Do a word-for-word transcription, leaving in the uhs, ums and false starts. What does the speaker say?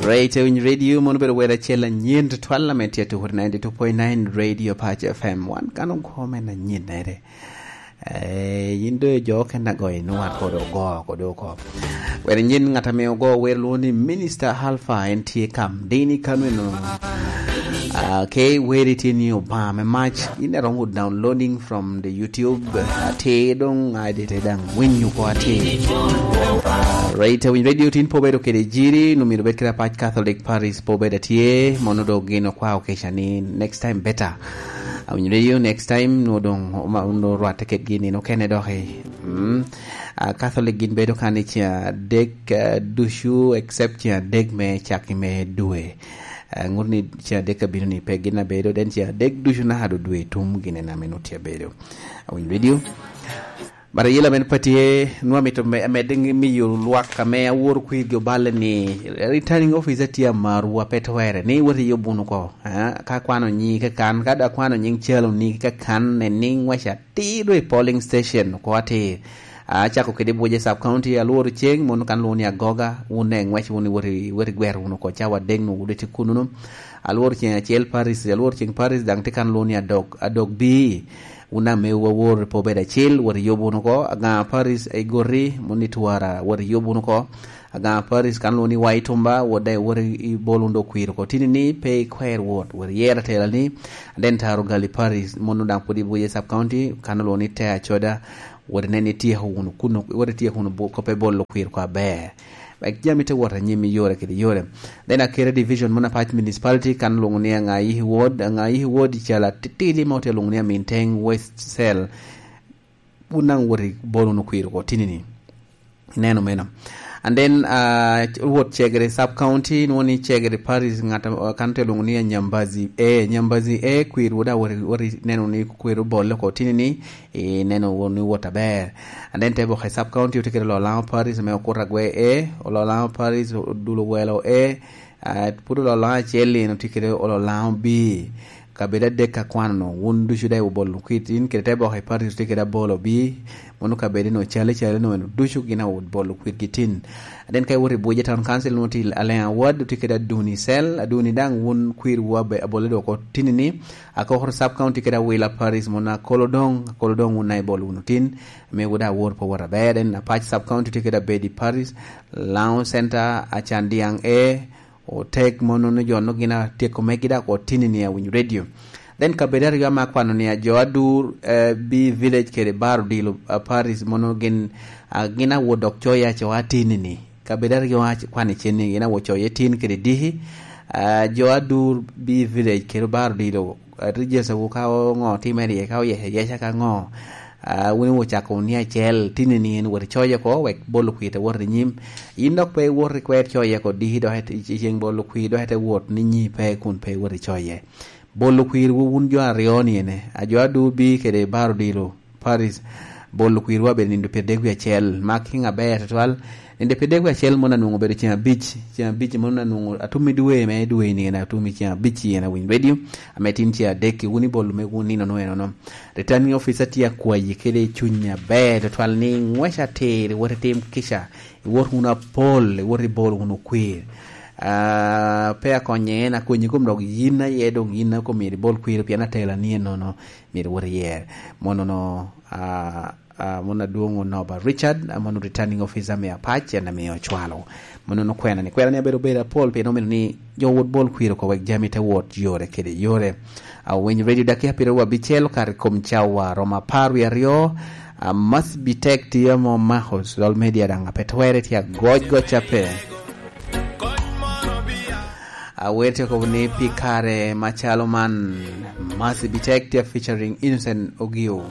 Right, Winyo Radio, mono bedo wer acel anyen tutwal ame tye tuko ninety two point nine Radio Pac F M. Wan kan okome na nyen nere. Eh, yin do jo ken agoyo ni wan kod ogo, kod oko. Wer nyen ngat ame ogo wer lwongo ni Minister Alpha, en tye kam. Dini kano eno. Ah, ke weri tye ni Obama me mac. Yin eromo downloading from the YouTube. Ate dong, ade te dang winyo ko ate. Right, Winyo Radio tin po bedo kede jiri, no myero bed kede Apac Catholic Parish po bedo atye, mono do gin okwao keca ni next time better. Awinyo Radio next time, no dong, ma, no rwatte kedgi ni no kene doki. Mm. Ah, Catholic gin bedo kan i ceng adek, ah, ducu, except ceng adek me cak i me dwe. Ah, ngut ni ceng adek abino ni pe gin abedo, den ceng adek ducu naka do dwe tum gin en ame nut tye abedo. Awinyo Radio. Bara yela men pa tye, nwa mito me, med miyo lwak ame awor kwirgi oballe ni returning officer tye amaru a pe twere, ni wot i yob wunu ko. Ah, ka kwano nyi kakan, ka da kwano nying calo ni kakan, ne ni ngwaca atir do i polling station, ko atir. Ah, acako kede Buje Sub County, alworo ceng, mono kan lwongo ni Agoga, wun ne ngwec wunu, wot i, wot i gwer wunu ko, cawa adek nu wudeti kununu. Alworo ceng acel Paris, alworo ceng Paris, dang te kan lwongo ni Adog, Adog B. Wun ame wawor po bedo acil, wot i yob wunu ko. Agaŋa Paris, Igori, moni Twara, wot i yob wunu ko. Agaŋa Paris, kan lwongo ni Wai Tumba, wot daŋ wot i bol wunu do kwir ko. Tini ni pe ikwer wot, wot i yer atela ni, den taro gali Paris, mono daŋ pwod i Buje Sub County, kan lwongo ni Te Acoda, wot inen ni tyeko wunu kuno, wot ityeko wunu bo-, koppe bolo kwir ko aber. Wek jami te wot anyim i yore kede yore. Then Akere Division, mono Apac Municipality, kan lwongo ni Aŋayihi Ward, Aŋayihi Ward i calo atitidi ma ote lwongo ni Aminteng West Cell. Wun daŋ wot i bol wunu kwir oko tini ni. Ineno meno. And then, uh, wot Cegere Sub County, nwoŋo ni Cegere Parish, ŋat, uh, kan te lwongo ni Nyambazi A. Nyambazi A, kwir wot a wot i, wot i neno ni kwir obol oko tini ni, ineno wunu ni wot aber. And then te boke Sub County otye kede Ololaŋo Parish ame okuto agwe A, Ololaŋo Parish, Odulo Welo A, ah, pud Ololaŋo acel lino tye kede Ololaŋo B. Kabedo adek akwano-nu, wun ducu daŋ wubolo kwir tin, kede te boke Parish tye kede abolo B, mono kabedo-nu calo, calo-nu eno ducu gin awoto bolo kwirgi tin. And then ka iwoto i Buje Town Council, nwoŋo tye Aleŋa Ward, tye kede Aduni Cell, Aduni daŋ wun kwirwu abe-, abole dok oko tini ni, Akokoro Sub County kede Awila Parish, mono Akolodong, Akolodong wun na ibolo wunu tin, ame wun daŋ awor pe wot aber, en Apac Sub County tye kede Abedi Parish, Laŋo Center, Acandiaŋ A, Otek, mono ni jo no gin atyeko megi daŋ oko tini ni Awinyo Radio. Then kabedo aryo ame akwano ni a jo Adur, eh, B Village kede Bar Odilo, ah, Parish, mono gin, ah, gin awot dok coye acoa tini ni. Kabedo aryo ac-, kwano icen ni gin awot coye tin kede diki. Ah, jo Adur B Village kede Bar Odilo, ah, Rijesa wu ka oŋo timere iye, ka oyece yeca ka ŋo. Ah, wun iwot cako wun ni acel, tini ni en wot icoye oko, wek bolo kwir te wot i nyim. Yin dok pe iwot i kwer coye oko, diki dok i, i ceng bolo kwir dok ite wot ni nyi pe kun pe iwot icoye. Bolo kwirwu wun jo aryo ni ene, a jo Adur B kede Bar Odilo Parish, bolo kwirwu abedo nindo pyerdek wie acel, ma kiŋ aber tutwal. Nindo pyerdek wie acel mono anwoŋo obedo ceng abic, ceng abic mono anwoŋo atum i dwe me dwe ni ene, atum i ceng abic i ene Awinyo Radio, ame tin ceng adek i wun i bolo me wun nino no enono. Returning officer tye akwayi kede cuny aber tutwal ni ngwec atir, iwot itim kica, iwot wunu apol, iwot ibol wunu kwir. Ah, pe akonye en, akonyi kom dok yin aye dong yin a kom myero ibol kwir pien atela ni enono myero iwot iyer. Mono no, ah, ah, mono adwoŋ Onoba Richard, ah, mono returning officer me Apac, en ame ocwalo. Mono no kwena ni, kwena ni abedo bedo apol pien omito ni jo wot bol kwir oko wek jami te wot yore kede yore. Awinyo Radio dakia piero abicel kare kom cawa romo apar wie aryo. Ah, must be tek tiyo mo Mahos, Lol Media daŋ ape twere tye agoc goc ape. Awer tye kobo ni pi kare macalo man, must be tek tye featuring Innocent Ogio.